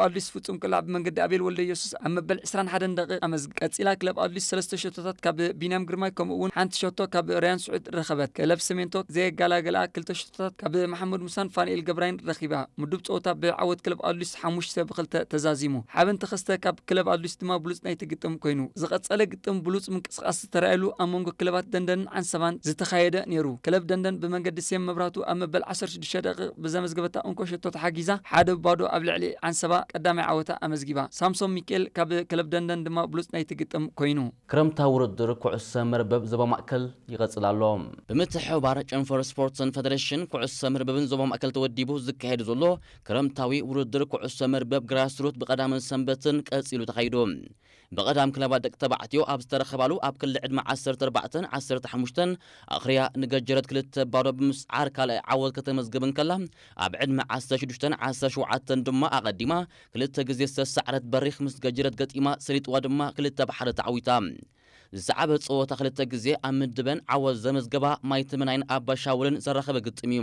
ኣዲስ ፍጹም ቅላዕ ብመንገዲ ኣቤል ወልደ ኢየሱስ ኣብ መበል ዕስራን ሓደን ደቂቕ ኣመዝግ ቀጺላ። ክለብ ኣዲስ ሰለስተ ሸቶታት ካብ ቢንያም ግርማይ ከምኡ እውን ሓንቲ ሸቶ ካብ ርያን ስዑድ ረኸበት። ክለብ ሰሜንቶ ዘየጋላገላ ክልተ ሸቶታት ካብ መሓመድ ሙሳን ፋንኤል ገብራይን ረኺባ። ምዱብ ጸወታ ብዓወት ክለብ ኣዲስ ሓሙሽተ ብክልተ ተዛዚሙ። ሓበን ተኸስተ ካብ ክለብ ኣዲስ ድማ ብሉጽ ናይቲ ግጥም ኮይኑ። ዝቐጸለ ግጥም ብሉጽ ምንቅስቓስ ዝተራእየሉ ኣብ መንጎ ክለባት ደንደንን ዓንሰባን ዝተኻየደ ነይሩ። ክለብ ደንደን ብመንገዲ ሴም መብራቱ ኣብ መበል ዓሰርተ ሽዱሽተ ደቂቕ ብዘመዝገበታ እንኮ ሸቶ ተሓጊዛ ሓደ ብባዶ ኣብ ልዕሊ ዓንሰባ ቀዳማይ ዓወታ ኣመዝጊባ። ሳምሶም ሚካኤል ካብ ክለብ ደንደን ድማ ብሉጽ ናይቲ ግጥም ኮይኑ። ክረምታዊ ውድድር ኩዕሶ መርበብ ዞባ ማእከል ይቐጽል ኣሎ። ብምትሕብባር ጨንፈር ስፖርትን ፈደሬሽን ኩዕሶ መርበብን ዞባ ማእከል ተወዲቡ ዝካየድ ዘሎ ክረምታዊ ውድድር ኩዕሶ መርበብ ግራስሩት ብቐዳምን ሰንበትን ቀጺሉ ተኻይዱ። ብቐዳም ክለባት ደቂ ተባዕትዮ ኣብ ዝተረኸባሉ ኣብ ክሊ ዕድመ ዓሰርተ ኣርባዕተን ዓሰርተ ሓሙሽተን ኣኽርያ ንገጀረት ክልተ ባዶ ብምስዓር ካልኣይ ዓወት ከተመዝግብ እንከላ፣ ኣብ ዕድመ ዓሰርተ ሽዱሽተን ዓሰርተ ሸውዓተን ድማ ኣቐዲማ ክልተ ግዜ ዝተሰዓረት በሪኽ ምስ ገጀረት ገጢማ ሰሊጥዋ ድማ ክልተ ብሓደ ተዓዊታ። ዝሰዓበ ጸወታ ክልተ ግዜ ኣብ ምድበን ዓወት ዘመዝገባ ማይተመናይን ኣባሻውልን ዘራኸበ ግጥም እዩ።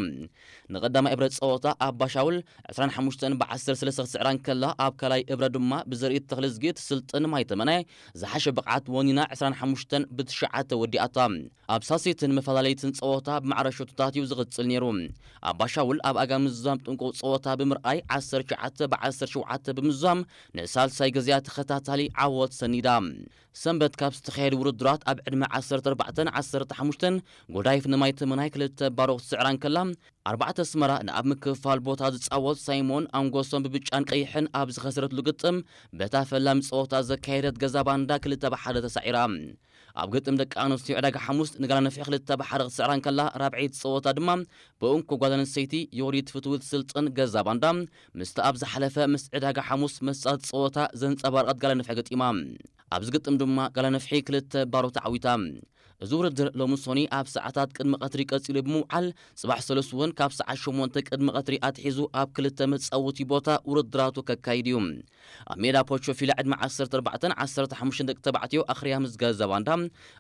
ንቐዳማይ እብረ ጸወታ ኣባሻውል ዕስራን ሓሙሽተን ብዓሰርተ ሰለስተ ክትስዕራ እንከላ፣ ኣብ ካልኣይ እብረ ድማ ብዘርኢ ተኽልዝጊ ትስልጥን ማይተመናይ ዝሓሸ ብቕዓት ወኒና ዕስራን ሓሙሽተን ብትሽዓተ ወዲኣታ። ኣብ ሳልሰይትን መፈላለይትን ጸወታ ብማዕረ ሸቶታት እዩ ዝቕጽል ነይሩ። ኣባሻውል ኣብ ኣጋ ምዝዛም ጥንቁቕ ጸወታ ብምርኣይ ዓሰርተ ትሽዓተ ብዓሰርተ ሸውዓተ ብምዝዛም ንሳልሳይ ግዜያ ተኸታታሊ ዓወት ሰኒዳ። ሰንበት ካብ ዝተኻየዱ ውድድራት ኣብ ዕድመ ዓሰርተ ኣርባዕተን ዓሰርተ ሓሙሽተን ጎዳይፍ ንማይተመናይ ክልተ ባዶ ክትስዕራ እንከላ፣ ኣርባዕተ ኣስመራ ንኣብ ምክፍፋል ቦታ ዝጻወት ሳይሞን ኣንጎሶም ብብጫን ቀይሕን ኣብ ዝኸሰረትሉ ግጥም በታ ፈላሚ ጸወታ ዘካየደት ገዛ ባንዳ ክልተ ብሓደ ተሳዒራ። ኣብ ግጥም ደቂ ኣንስትዮ ዕዳጋ ሓሙስ ንጋላ ነፍሒ ክልተ ብሓደ ክትስዕራ እንከላ፣ ራብዐይቲ ጸወታ ድማ ብእንኮ ጓል ኣንስተይቲ ዮዲት ፍትውት ስልጥን ገዛ ባንዳ ምስቲ ኣብ ዝሓለፈ ምስ ዕዳጋ ሓሙስ መጻት ጸወታ ዘንጸባረቐት ጋላ ነፍሒ ገጢማ። ኣብዚ ግጥም ድማ ጋላ ነፍሒ ክልተ ባዶ ተዓዊታ። እዚ ውድድር ሎሚ ሶኒ ኣብ ሰዓታት ቅድሚ ቀትሪ ቀጺሉ ብምውዓል፣ ጽባሕ ሰሉስ እውን ካብ ሰዓት ሸሞንተ ቅድሚ ቀትሪ ኣትሒዙ ኣብ ክልተ መጻወቲ ቦታ ውድድራቱ ከካይድ እዩ። ኣብ ሜዳ ፖቾ ፊላ ዕድመ ዓሰርተ ኣርባዕተን ዓሰርተ ሓሙሽተን ደቂ ተባዕትዮ ኣኽርያ ምስ ገዛ ባንዳ፣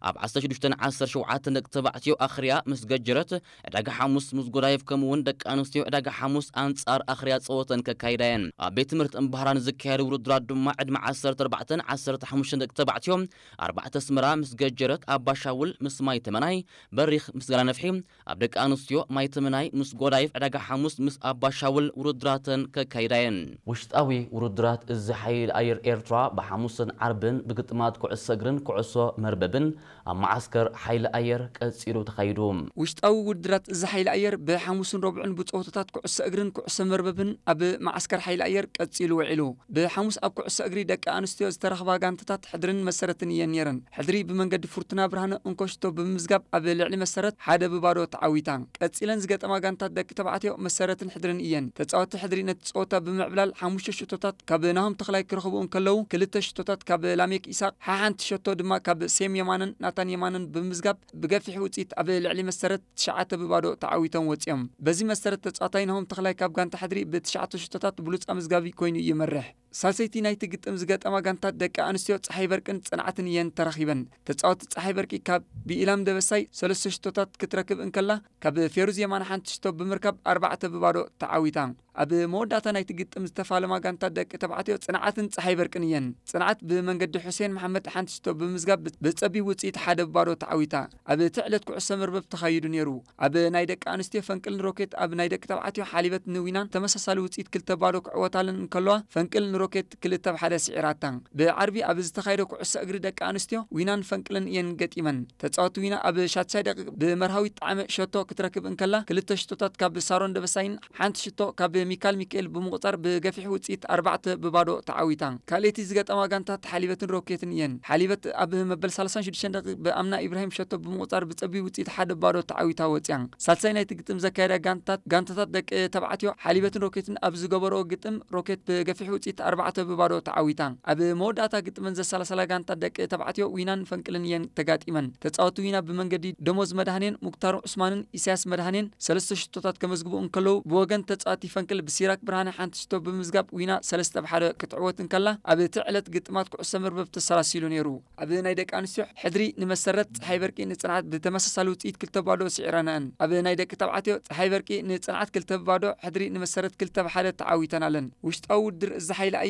ኣብ ዓሰርተ ሽዱሽተን ዓሰርተ ሸውዓተን ደቂ ተባዕትዮ ኣኽርያ ምስ ገጀረት፣ ዕዳጋ ሓሙስ ምስ ጎዳይፍ ከምኡ እውን ደቂ ኣንስትዮ ዕዳጋ ሓሙስ ኣንጻር ኣኽርያ ጸወተን ከካይዳ እየን። ኣብ ቤት ትምህርቲ እምባህራ ንዝካየዱ ውድድራት ድማ ዕድመ ዓሰርተ ኣርባዕተን ዓሰርተ ሓሙሽተን ደቂ ተባዕትዮ ኣርባዕተ ኣስመራ ምስ ገጀረት፣ ኣባሻውል ምስ ማይ ተመናይ፣ በሪኽ ምስ ጋላ ነፍሒ፣ ኣብ ደቂ ኣንስትዮ ማይ ተመናይ ምስ ጎዳይፍ ዕዳጋ ሓሙስ ምስ ኣባሻውል ውድድራተን ከካይዳ እየን። ውሽጣዊ ውድድራት እዚ ሓይሊ ኣየር ኤርትራ ብሓሙስን ዓርብን ብግጥማት ኩዕሶ እግርን ኩዕሶ መርበብን ኣብ መዓስከር ሓይሊ ኣየር ቀጺሉ ተኻይዱ። ውሽጣዊ ውድድራት እዚ ሓይሊ ኣየር ብሓሙስን ረቡዕን ብጸወታታት ኩዕሶ እግርን ኩዕሶ መርበብን ኣብ መዓስከር ሓይሊ ኣየር ቀጺሉ ውዒሉ። ብሓሙስ ኣብ ኩዕሶ እግሪ ደቂ ኣንስትዮ ዝተረኽባ ጋንታታት ሕድርን መሰረትን እየን ነይረን። ሕድሪ ብመንገዲ ፍርቱና ብርሃነ እንኮሽቶ ብምምዝጋብ ኣብ ልዕሊ መሰረት ሓደ ብባዶ ተዓዊታ። ቀጺለን ዝገጠማ ጋንታት ደቂ ተባዕትዮ መሰረትን ሕድርን እየን። ተጻወትቲ ሕድሪ ነቲ ጸወታ ብምዕብላል ሓሙሽተ ሽቶታት ካብ ናሆም ተኽላይ ክረኽቡ እንከለዉ፣ ክልተ ሽቶታት ካብ ላሜክ ኢሳቕ፣ ሓሓንቲ ሸቶ ድማ ካብ ሴም የማነን ናታን የማነን ብምምዝጋብ ብገፊሕ ውጽኢት ኣብ ልዕሊ መሰረት ትሽዓተ ብባዶ ተዓዊቶም ወጺኦም። በዚ መሰረት ተጻዋታይ ናሆም ተኽላይ ካብ ጋንታ ሕድሪ ብትሽዓተ ሽቶታት ብሉጽ ኣመዝጋቢ ኮይኑ ይመርሕ። ሳልሰይቲ ናይቲ ግጥም ዝገጠማ ጋንታት ደቂ ኣንስትዮ ጸሓይ በርቅን ጽንዓትን እየን ተራኺበን። ተጻወቲ ጸሓይ በርቂ ካብ ብኢላም ደበሳይ ሰለስተ ሽቶታት ክትረክብ እንከላ፣ ካብ ፌሩዝ የማነ ሓንቲ ሽቶ ብምርካብ ኣርባዕተ ብባዶ ተዓዊታ። ኣብ መወዳእታ ናይቲ ግጥም ዝተፋለማ ጋንታት ደቂ ተባዕትዮ ጽንዓትን ጸሓይ በርቅን እየን። ጽንዓት ብመንገዲ ሑሴን መሓመድ ሓንቲ ሽቶ ብምዝጋብ ብ-፣ ብጸቢብ ውጽኢት ሓደ ብባዶ ተዓዊታ። ኣብ እቲ ዕለት ኩዕሶ መርበብ ተኻይዱ ነይሩ። ኣብ ናይ ደቂ ኣንስትዮ ፈንቅልን ሮኬት ኣብ ናይ ደቂ ተባዕትዮ ሓሊበት ንዊናን ተመሳሳሊ ውጽኢት ክልተ ባዶ ክዕወታለን እንከለዋ፣ ፈንቅል ንሮኬት ክልተ ብ ሓደ ስዒራታ። ብዓርቢ ኣብ ዝተኻየደ ኩዕሶ እግሪ ደቂ ኣንስትዮ ዊናን ፈንቅልን እየን ገጢመን። ተጻወቲ ዊና ኣብ ሻትሻይ ደቂቕ ብመርሃዊት ጣዕመ ሸቶ ክትረክብ እንከላ፣ ክልተ ሽቶታት ካብ ሳሮን ደበሳይን ሓንቲ ሽቶ ካብ ሚካል ሚካኤል ብምቑጻር ብገፊሕ ውጽኢት ኣርባዕተ ብባዶ ተዓዊታ። ካልኣይቲ ዝገጠማ ጋንታት ሓሊበትን ሮኬትን እየን። ሓሊበት ኣብ መበል ሰላሳን ሽዱሽተን ደቂቕ ብኣምና ኢብራሂም ሸቶ ብምቑጻር ብጸቢብ ውጽኢት ሓደ ባዶ ተዓዊታ ወጽያ። ሳልሳይ ናይቲ ግጥም ዘካየዳ ጋንታት፣ ጋንታታት ደቂ ተባዕትዮ ሓሊበትን ሮኬትን ኣብ ዝገበረኦ ግጥም፣ ሮኬት ብገፊሕ ውጽኢት ኣርባዕተ ብባዶ ተዓዊታ። ኣብ መወዳእታ ግጥመን ዘሰላሰላ ጋንታት ደቂ ተባዕትዮ ዊናን ፈንቅልን እየን ተጋጢመን። ተጻወቲ ዊና ብመንገዲ ደሞዝ መድሃኔን፣ ሙክታር ዑስማንን ኢሳያስ መድሃኔን ሰለስተ ሽቶታት ከመዝግቡ እንከለዉ፣ ብወገን ተጻዋቲ ፈንቅል ብሲራክ ብርሃነ ሓንቲ ሽቶ ብምዝጋብ ዊና ሰለስተ ብ ሓደ ክትዕወት እንከላ፣ ኣብ እቲ ዕለት ግጥማት ኩዕሶ መርበብ ተሰላሲሉ ነይሩ። ኣብ ናይ ደቂ ኣንስትዮ ሕድሪ ንመሰረት፣ ጸሓይ በርቂ ንጽንዓት ብተመሳሳሊ ውጽኢት ክልተ ባዶ ስዒረንኣን። ኣብ ናይ ደቂ ተባዕትዮ ጸሓይ በርቂ ንጽንዓት ክልተ ባዶ፣ ሕድሪ ንመሰረት ክልተ ብ ሓደ ተዓዊተናለን። ውሽጣዊ ውድድር እዚ ሓይሊ